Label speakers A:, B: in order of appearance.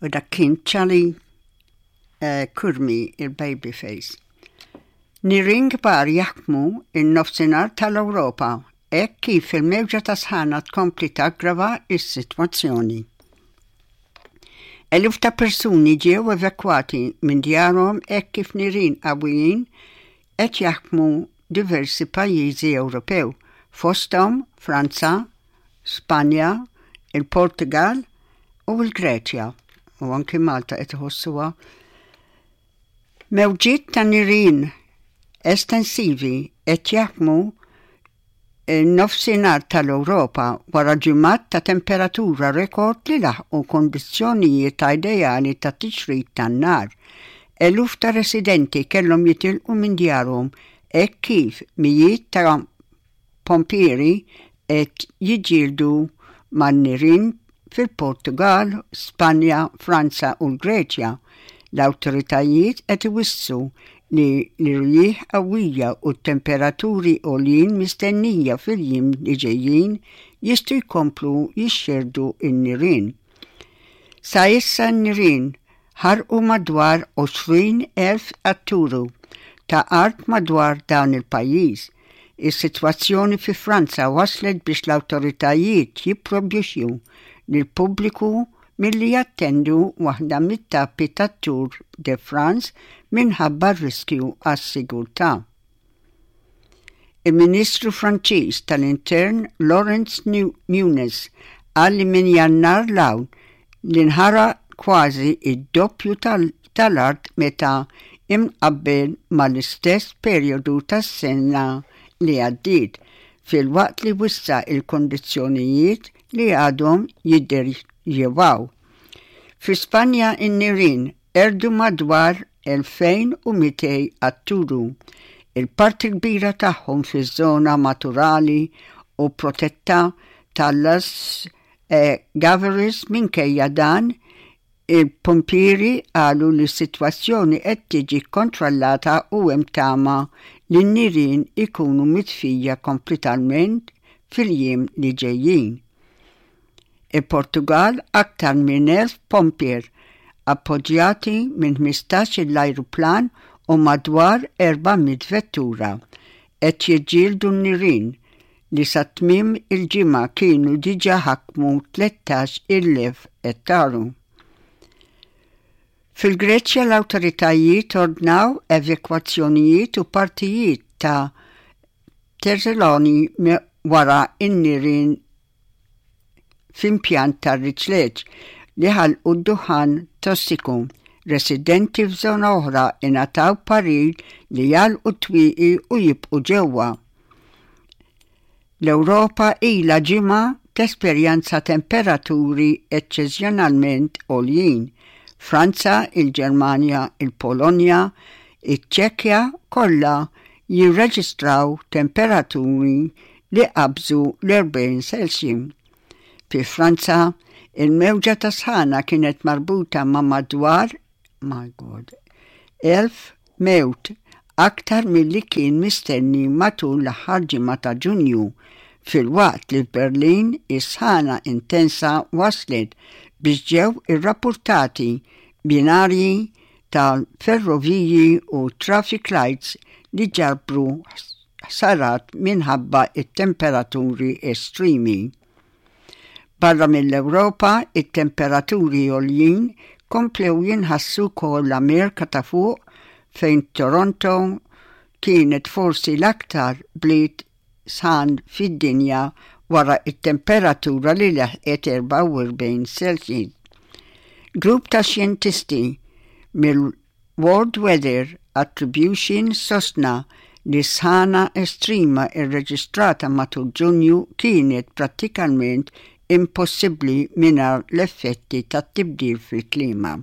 A: U dak kien Charlie eh, Curmi il-Baby Face. Nirien kbar jaħkmu in-nofsinhar tal-Ewropa hekk kif il-mewġa ta' sħana tkompli taggrava s-sitwazzjoni. Eluf ta' persuni ġew evakwati minn djarhom hekk kif nirien qawwijin qed jaħkmu diversi pajjiżi Ewropew, fosthom Franza, Spanja, il-Portugal u l-Greċja, u anki Malta qed iħossuha. Mewġiet ta' nirien estensivi qed jaħkmu n-nofsinhar tal-Ewropa wara ġimgħat ta' temperatura rekord li laħqu kondizzjonijiet ideali ta' tixrid tan-nar. Eluf ta' residenti kellhom jitilqu minn djarhom hekk kif mijiet ta' pompieri qed jiġġieldu man-nirien fil-Portugall, Spanja, Franza u l-Greċja. L-awtoritajiet qed iwissu li l-irjieħ qawwija u t-temperaturi għoljin mistennija fil-jiem li ġejjin jistgħu jkomplu jixxerrdu n-nirien. Sa issa n-nirien ħarqu madwar 20,000 etturu ta' art madwar dan il-pajjiż. Is-sitwazzjoni fi Franza waslet biex l-awtoritajiet jipprojbixxu lill-pubbliku milli jattendu waħda mit-tappi tat-Tour de France minħabba r-riskju għas-sigurtà. Il-Ministru Franċiż tal-Intern Laurence Nunez qal li minn Jannar 'l hawn li nħaraq kważi d-doppju tal-art meta imqabbel mal-istess perjodu tas-sena li għaddiet, filwaqt li wissa l-kundizzjonijiet li għadhom jidderjewaw. Fi Spanja n-nirien qerdu madwar 2,200 atturu, il-parti l-kbira tagħhom fiż-żona maturali u protetta ta' Las Gaveris minkejja dan, il-pumpieri qalu li s-sitwazzjoni qed tiġi kkontrollata u hemm tama li n-nirien ikunu mitfija kompletament fil-jiem li ġejjin. Il-Portugall aktar minn 1,000 pompier appoġġjati minn 15-il ajruplan u madwar 400 vettura qed jiġġieldu n-nirien li sa tmiem il-ġimgħa kienu diġà ħakmu 13,000 ettaru. Fil-Greċja l-awtoritajiet ordnaw evakwazzjonijiet u partijiet ta' Thessaloni wara n-nirien f'impjant tar-riċleġġ li ħalqu d-duħħan tossiku. Residenti f'żona oħra ingħataw parir li jagħlqu t-twieqi u jibqgħu ġewwa. L-Ewropa ilha ġimgħa tesperjenza temperaturi eċċeżjonalment għoljin. Franza, il-Ġermanja, il-Polonja, iċ-Ċekja kollha jirreġistraw temperaturi li qabżu l-40 Celsius. Fi Franza, il-mewġa ta' sħana kienet marbuta ma' madwar my God, 1000 mewt aktar milli kien mistenni matul l-aħħar ġimgħa ta' Ġunju, filwaqt li f'Berlin is-sħana intensa waslet biex ġew irrappurtati binarji tal-ferroviji u traffic lights li ġarrbu ħsarat minħabba t-temperaturi estremi. Barra mill-Ewropa, it-temperaturi għoljin komplew jinħassu wkoll l-Amerika ta' Fuq fejn Toronto kienet forsi l-aktar bliet sħan fid-dinja wara t-temperatura li leħqet 44 Celsius. Grupp ta' xjentisti mill World Weather Attribution sostna li s-sħana estrema rreġistrata matul Ġunju kienet prattikament impossibbli mingħajr l-effetti tat-tibdil fil-klima.